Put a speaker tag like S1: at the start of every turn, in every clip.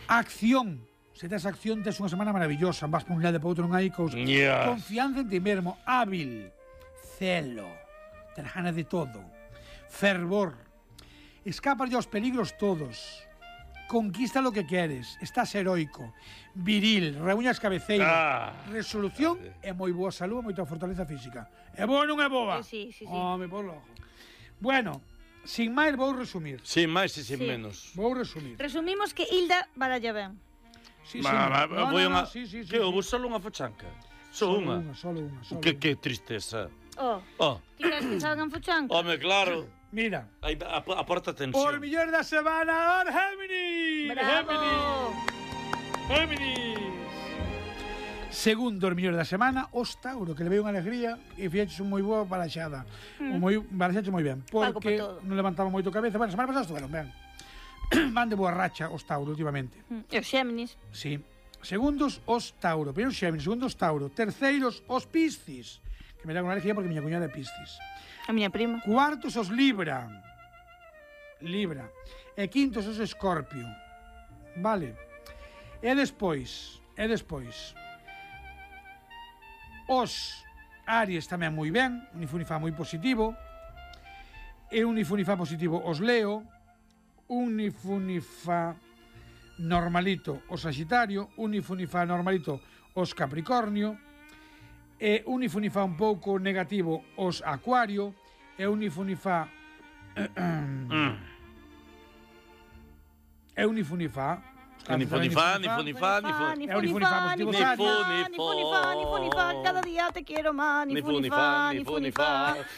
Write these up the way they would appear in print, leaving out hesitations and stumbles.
S1: Acción. Se tes acción, tes unha semana maravillosa. Vas por un lado e por outro, non hai cousa. Confianza en ti mesmo. Hábil. Celo. Ter ganas de todo. Fervor. Escapa aos peligros todos. Conquista lo que queres. Estás heroico. Viril. Reúñas cabeceiras. Resolución e moi boa salud e moita fortaleza física. É boa ou non é boa?
S2: Sí.
S1: Me pon logo. Bueno, sin máis vou resumir.
S3: Sin máis e sin menos.
S1: Vou resumir.
S2: Resumimos que Hilda baralla ben.
S1: Sí.
S3: Que houve solo unha fochanca? Solo unha. Que tristeza.
S2: Ti crees que salgan fochanca?
S3: Home, claro.
S1: Mira.
S3: Aporta tensión.
S1: Por mellor da semana, Géminis.
S2: Bravo.
S1: Géminis. Segundo mellor da semana, os Tauro, que le veo unha alegría e fixeches moi boa baraxada. Baraxaste moi ben, porque non levantaba moito cabeza. Bueno, semana pasada estuveron ben. Van de boa racha os Tauro últimamente.
S2: E os Xéminis.
S1: Sí. Segundos, os Tauro. Primeiro os Xéminis, segundos os Tauro. Terceiros, os Piscis. Que me dá unha alegría porque miña cuñada é Piscis.
S2: A miña prima.
S1: Cuartos, os Libra. E quintos, os Escorpio. Vale. E despois, os Aries tamén moi ben. Un Nifunifá moi positivo. E un Nifunifá positivo, os Leo. Un Nifunifá normalito, o Sagitario. Un Nifunifá normalito, os Capricornio. E un Nifunifá un pouco negativo, os Acuario. E un Nifunifá
S2: Nifunifá, cada día te quiero más. Nifunifá,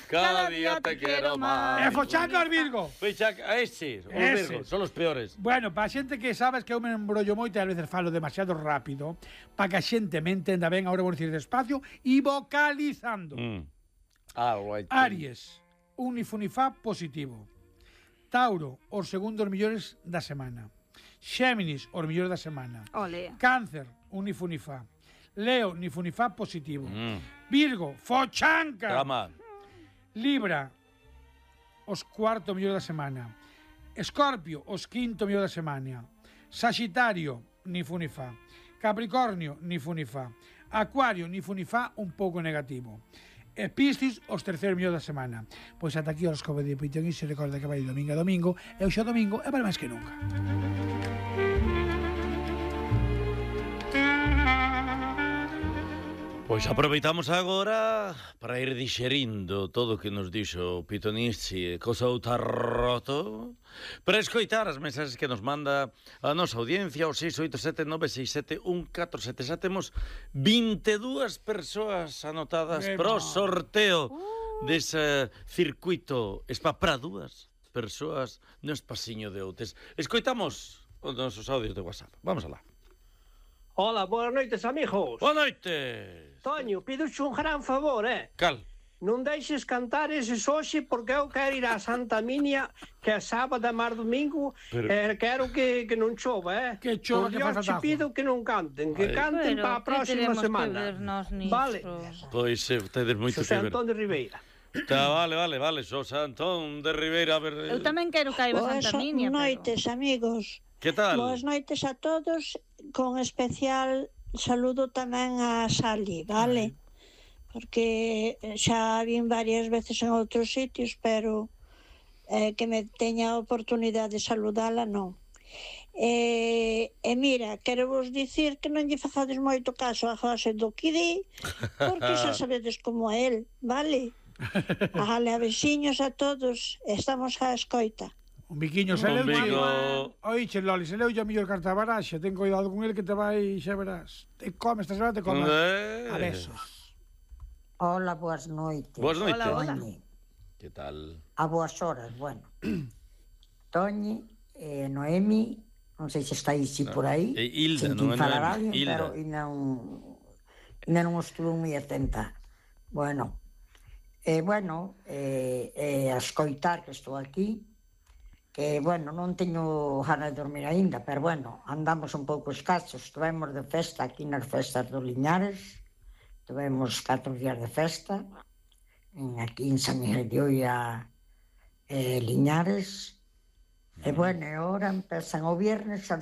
S2: cada día te quiero más.
S1: E fochanca os Virgo.
S3: Os Virgo, son os peores.
S1: Bueno, para a xente que sabes que eu me embrollo moito e a veces falo demasiado rápido, para que a xente me entenda ben, agora vou dicir despacio e vocalizando. Aries, un Nifunifá positivo. Tauro, os segundos millores da semana. Xéminis, os millores da semana.
S2: Ole.
S1: Cáncer, un Nifunifá. Leo, Nifunifá positivo. Virgo, fochanca.
S3: Drama.
S1: Libra, os cuarto millor da semana. Escorpio, os quinto millor da semana. Sagitario, Nifunifá. Capricornio, Nifunifá. Acuario, Nifunifá un pouco negativo. E Piscis, os terceiro millor da semana. Pois ata aquí os horóscopo de Pitón e se recorda que vai domingo a domingo e o xo domingo é para máis que nunca.
S3: Pois aproveitamos agora para ir dixerindo todo o que nos dixo Pitonizzi e Cosou Tarroto para escoitar as mensaxes que nos manda a nosa audiencia o 687-967-147. Xa temos 22 persoas anotadas pro sorteo dese circuito Spa para 2 persoas no espaciño de Outes. Escoitamos os nosos audios de WhatsApp. Vamos alá.
S4: Hola, boas noites, amigos.
S3: Boa noite.
S4: Toño, pidoche un gran favor,
S3: Cal?
S4: Non deixes cantar eses hoxe porque eu quero ir a Santa Minia, que é sábado e mar domingo, quero que non chova,
S1: Que chova, que faz
S4: te pido que non canten, que canten para a próxima semana. Vale.
S3: Pois tedes moito que
S4: Xosé
S3: ver.
S4: Antón de Ribeira.
S3: Vale, Xosé Antón de Ribeira, a ver.
S2: Eu tamén quero que haiba Santa Minia.
S5: Boas noites, amigos.
S3: Que tal?
S5: Boas noites a todos, con especial saludo tamén a Sally, vale? Porque xa vin varias veces en outros sitios, pero que me teña a oportunidade de saludala, non. E mira, quero vos dicir que non lle fazades moito caso a José do Kidí, porque xa sabedes como é el, vale? Vale, a veciños a todos, estamos a escoita.
S1: Un biquiño, se leu oiche, Loli, se leu a mellor carta baraxa. Ten cuidado con el que te vai, xa verás. Te come, esta semana te come a besos.
S6: Hola, boas noites.
S3: Boas noites.
S2: Hola.
S3: Que tal?
S6: A boas horas, bueno. Toñi, Noemi, non sei se está aí por aí.
S3: Hilda, non é Noemi,
S6: Hilda. Pero ainda non estuve moi atenta. Bueno, a escoitar que estou aquí, que, bueno, non teño ganas de dormir aínda, pero, bueno, andamos un pouco escasos. Estivemos de festa aquí nas festas do Liñares, tivemos 4 días de festa, aquí en San Miguel de Oia, Liñares, e, bueno, e agora empezan o viernes a